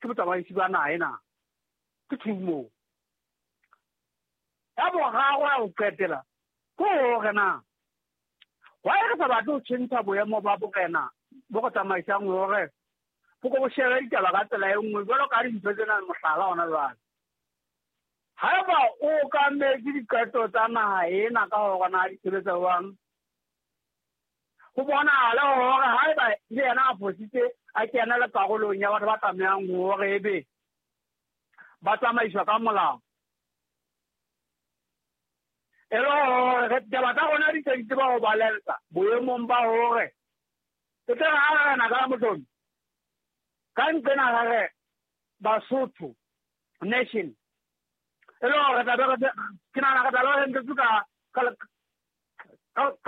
Ke botsamaisi ba naha ena. Ke two moo. Ya boraro ya ho qetela ke hore na why re sa batle ho tjhentjha boemo ba borena bo re tsamaisang hore bo ko bo shebe ditaba ka tsela e nngwe jwalo ka dintho tsena mohlala hona jwale. Haeba o okametse diqeto tsa naha ena ka hore na di sebetsa jwang, ho bonahale hore haeba le yena a fositse a kena le karolong ya batho ba tlamehang hore ebe ba tsamaiswa ka molao. E le hore ditaba tsa rona di se di tseba ho balensa boemong ba hore e tle re ha re na ka mohlomong ka nqena re re Basotho nation e le hore tla be ke nahana re tla be re ntse ka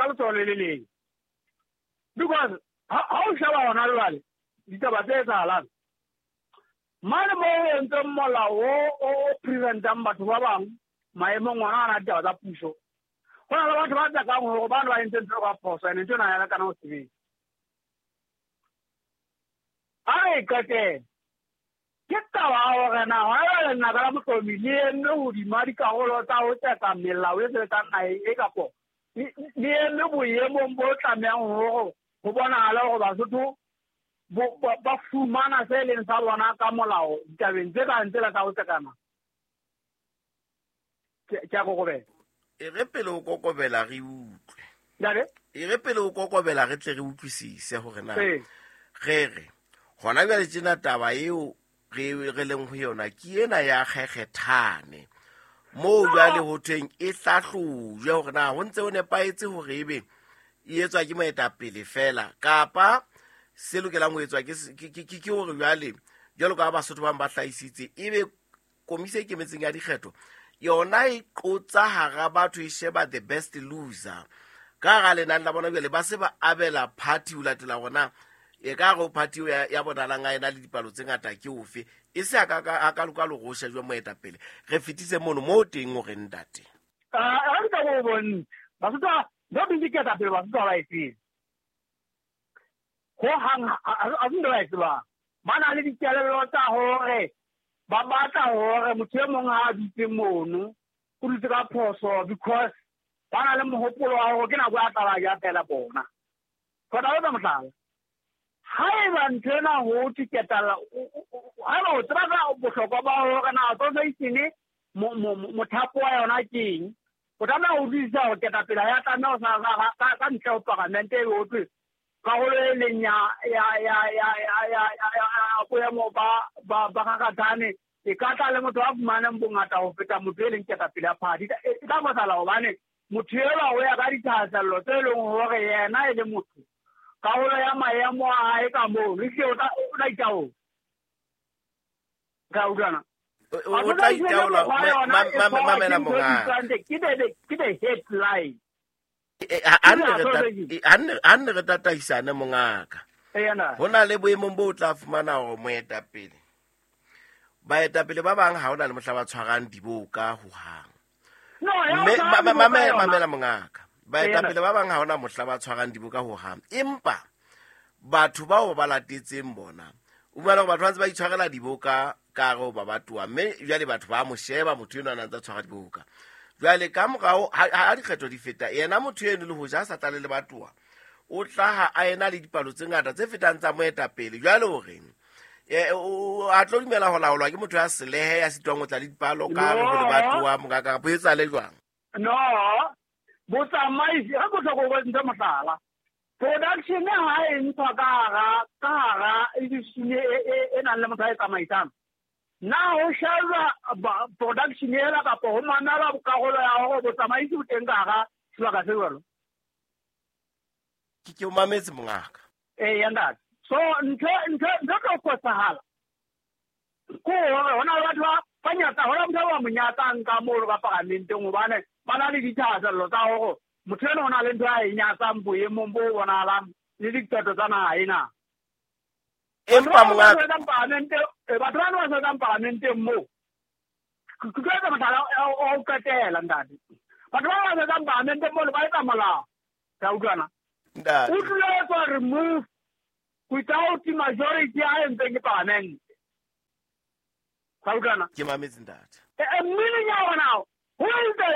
letsoho le le leng because ha o sheba hona jwale ditaba tse etsahalang mane moo o entseng molao o preventang batho ba bang maemong ona ana ditaba tsa puso ho na le batho ba tsakang hore bano ba entse ntho ka phoso ene ntho ena ya lekana ho sebetsa. A re e qetele. Ke taba ya hore na hona jwale lenaka la mohlomi le eme hodima dikarolo tsa ho tseka melao e sebetsang naheng e kapo le eme boemong bo tlamehang hore ho bonahale hore Basotho ba fumana se leng sa bona ka molao ditabeng tse kang tsela tsa ho tsekana. Ke a kokobela. E re pele o kokobela re utlwe. Ntate? E re pele o kokobela re tle re utlwisise hore na re re hona jwale tjena taba eo re leng ho yona ke ena ya kgekgethane moo jwale ho thweng e hlahlojwe hore na ho ntse ho nepahetse hore ebe e etswa ke moetapele fela kapa se lokelang ho etswa ke hore jwale jwalo ka Basotho bang ba hlahisitse ebe komisi e ikemetseng ya dikgetho yona e qotsa hara batho e sheba the best loser ka hara lenane la bona jwale ba se ba abela party ho latela gona e ka re party ya bonalang a ena le dipalo tse ngata ke ofe e se a ka loka jwa moetapele re fetise mono mo teng o re ntate. A re ka bo bontsha Basotho ba busy ketapele Basotho ba e tsebe ho hang a se ntho ba e tsebang. Ba na le dikelello tsa hore ba batla hore motho e mong ha a dutse mono o dutse ka phoso because ba na le mohopolo wa hore ke nako ya tla ja fela bona. Kgotsa o tsa mohlala haeba ntho ena ho thwe ketalla haeba o tseba ka bohlokwa ba hore na association mothapo wa yona ke eng, o tlameha ho utlwisisa hore ketapele ha ya tlameha ho sa ka ntle ho paramente e ho thwe karolo e leng ya boemo ba Kgakgathane e ka tla le motho a fumaneng bongata ho feta motho e leng ketapele ya party. E tla fosala hobane motho elwa o ya ka dithahasello tse leng hore yena e le motho karolo ya maemo a hae ka moo le tle o tla itaola. Ka utlwana? O tla itaola mamela mongaka. Ke the headline. Ha nne re tataisane mongaka. Ho na le boemong bo o tla fumana hore moetapele baetapele ba bang ha hona le mohla ba tshwarang diboka ho hang. Mamela mongaka. Baetapele ba bang ha hona mohla ba tshwarang diboka ho hang. Empa batho bao ba latetseng bona o fumana hore batho ba ntse ba itshwarela diboka ka hare ho ba batoa mme jwale batho ba mo sheba motho enwa a ntse a tshwara diboka. Jwale ka morao ha dikgetho di feta yena motho eno le hoja a sa tlale le batoa o tlaha a ena le dipalo tse ngata tse fetang tsa moetapele. Jwale o reng a tlo dumela ho laolwa ke motho ya selehe ya sitwang ho tla le dipalo ka hare ho le batoa mongaka kapa e etsahale jwang? No, botsamaisi ha bohlokwa bo ntse mohlala. Production ha e ntshwa ka hara institution e nang le motho a e tsamaisang. Na ho shejwa production ela kapa ho mamelwa karolo ya hore botsamaisi bo teng ka hara sebaka se jwalo? Ke o mametse mongaka. Ee, ntate. So ntho tlo fosahala ke hore hona le batho ba nyatsa, hona motho ba mo nyatsang ka moo ka paramenteng hobane ba na le dithahasello tsa hore motho eno o na le ntho a e nyatsang boemong bo bonahalang le diqeto tsa naha ena. Empa mongaka batho bana ba sebetsang paramenteng moo, ke tlo etsa mohlala wa ho qetela ntate. Batho ba ba sebetsang paramenteng moo ba etsa molao. Ka utlwana? Ntate. O tlilo etswa remove without majority a entseng ke paramente. Ka utlwana? Ke mametse ntate. Meaning ya hore now, who is the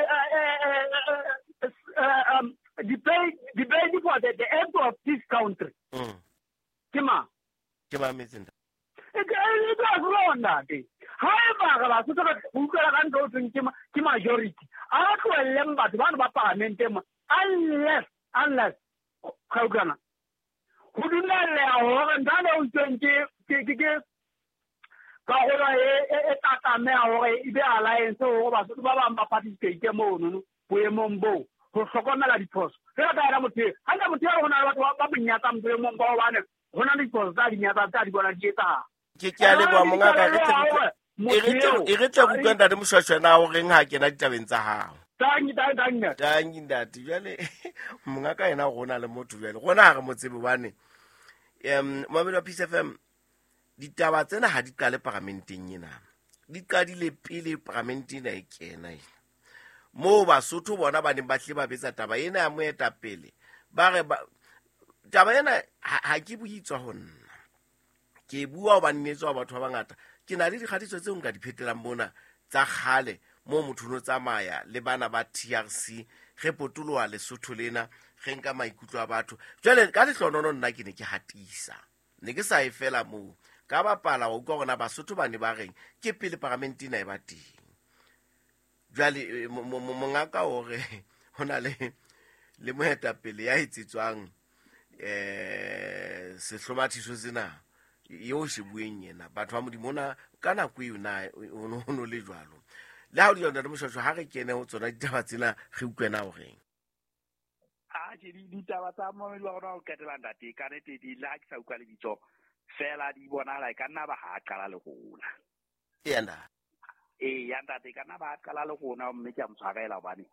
debate for the end of this country? Ke mang? Ke mametse ntate. It was wrong, ntate. Haeba re Basotho re utlwela ka ntho o thweng ke majority, a ba tlohelleng batho bano ba parlamenteng mo, unless ka utlwana, ho dumelleha hore ntho ane o itsweng ke karolo e tla tlameha hore e be alliance hore Basotho ba bang ba participate monono boemong boo ho hlokomela diphoso. Jwalo ka yena motho eo, hantle motho eo ho na le batho ba mo nyatsang boemong ba hobane ho na le diphoso tsa di nyatsang tsa di bona di etsahala. Ke a leboha mongaka, e re tle re utlwe ntate Moshweshwe na o reng ha kena ditabeng tsa hao. Tangi, tangi, tangi. Tangi ntate. Jwale mongaka yena rona le motho jwale. Rona ha re mo tsebe hobane momamedi wa Peace FM, ditaba tsena ha di qale paramenteng ena. Di qadile pele paramente ena e kena ena. Moo Basotho bona ba neng ba tle ba betsa taba ena ya moetapele. Ba re taba ena ha ke bue tswa ho nna. Ke bua hobane ne tswa batho ba bangata. Ke na le dikgatiso tseo nka di phetelang mona tsa kgale moo motho no tsamaya le bana ba TRC re potoloha Lesotho lena re nka maikutlo a batho. Jwale ka lehlonono nna ke ne ke hatisa. Ne ke sa e fela moo. Ka bapala wa utlwa hore na Basotho ba ne ba reng ke pele paramente ena e ba teng. Jwale mongaka o re ho na le moetapele ya etsetswang sehlomathiso sena eo se bueng yena. Batho ba Modimo ona ka nako eo na o no le jwalo. Le ha o di ntate Moshweshwe, ha re kene ho tsona ditaba tsena re utlwe na o reng. A ke ditaba tsa momedi wa rona ho qetela ntate, ka nnete di le ha ke sa utlwa lebitso fela di bonahala e ka nna ba ha qala le rona. Eya ntate. Eya ntate, e ka nna ba ha qala le rona mme ke a mo tshwarela hobane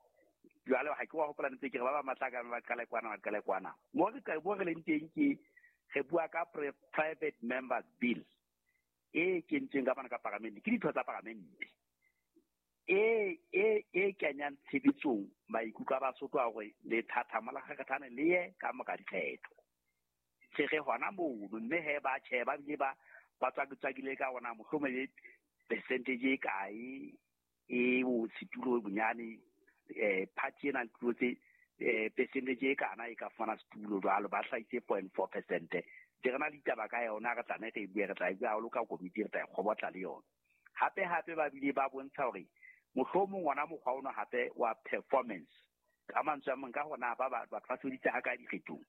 jwale ha ke wa hopola ntse ke re ba ba matla ka ba qale kwana, ba qale kwana. Mo re ka bo re leng teng ke re bua ka private members bill e kentsweng ka bana ka paramente, ke ditho tsa paramente e kenyang tshebetsong maikutlo a Basotho a hore lethathamo la Kgakgathane le ye ka mora dikgetho. Se re hona mono, mme he ba tjhe, ba bile ba tswakitswakile ka hona mohlomong e percentage e kae e o setulo bonyane, party ena le tse percentage e kana e ka fumana setulo jwalo, ba hlahise 0.4%. Re na le ditaba ka yona, re tla ne re bue, re tla e bua haholo ka komiti, re tla e kgobotla le yona. Hape hape ba bile ba bontsha hore mohlomong ona mokgwa ono hape wa performance, ka mantswe a mang ka hona ba batho ba sebeditse ha kae dikgethong,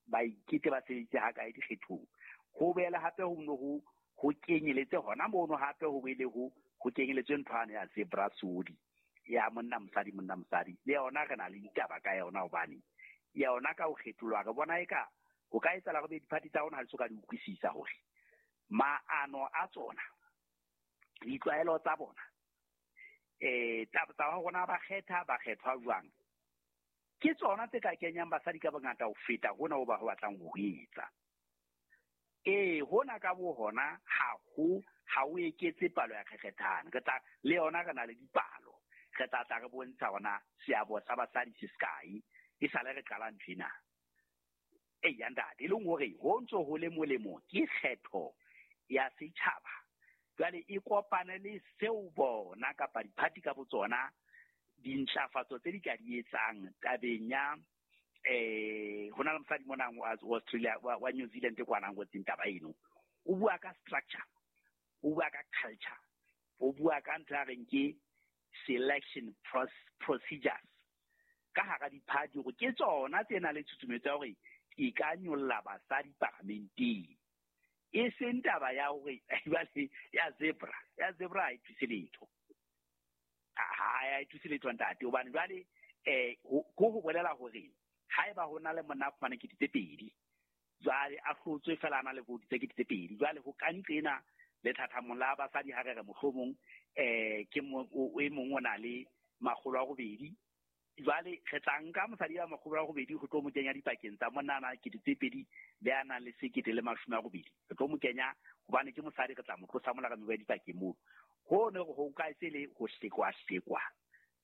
ba ikete ba sebeditse ha kae dikgethong. Ho boela hape ho no ho kenyeletse hona mono, hape ho boele ho kenyeletse ntho ane ya zebra sodi ya monna mosadi, monna mosadi, le yona re na le ditaba ka yona hobane yona ka ho kgetholwa re bona eka ho ka etsahala hore diphathi tsa rona ha di so ka di utlwisisa hore maano a tsona, ditlwaelo tsa bona, tsa rona ba kgetha, ba kgethwa jwang, ke tsona tse ka kenyang basadi ka bongata ho feta hona ho ba ho batlang ho etsa. Hona ka bo hona ha o eketse palo ya kgekgethane. Re tla le yona re na le dipalo, re tla tla re bontsha hona seabo sa basadi se sekae e sale re qala ntho ena. Eya ntate, e leng hore ho ntso ho le molemo ke kgetho ya setjhaba. Jwale e kopane le seo bona kapa diphathi ka botsona dintlafatso tse di ka di etsang tabeng ya ho na le mosadi mona wa Australia wa New Zealand kwana ngotseng taba eno. O bua ka structure, o bua ka culture, o bua ka ntho ya reng ke selection procedures ka hara diphathi hore ke tsona tse nang le tshusumetso ya hore e ka nyolla basadi paramenteng. E seng taba ya hore jwale ya zebra ha e thuse letho. Ha e thuse letho ntate, hobane jwale ko ho bolela hore haeba ho na le monna a fumane 2,000, jwale a hlotswe fela a na le vote tse 2,000, jwale ho ka nqena lethathamong la basadi ha re re mohlomong ke e mong o na le 800, jwale re tla nka mosadi ya 800 ho tlo mo kenya dipakeng tsa monna a 2,000 le a nang le 1,080. Re tlo mo kenya hobane ke mosadi, re tla mo tlosa mola re mo beha dipakeng moo. Ho ne ho ka se le ho hlekwahlekwa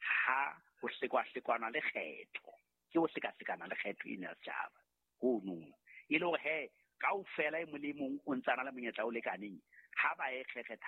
ha ho hlekwahlekwana le kgetho, ke ho hlekahlekana le kgetho ena ya setjhaba hono. E le hore he kaofela e mong le mong o ntsana le monyetla o lekaneng ha ba e kgetha.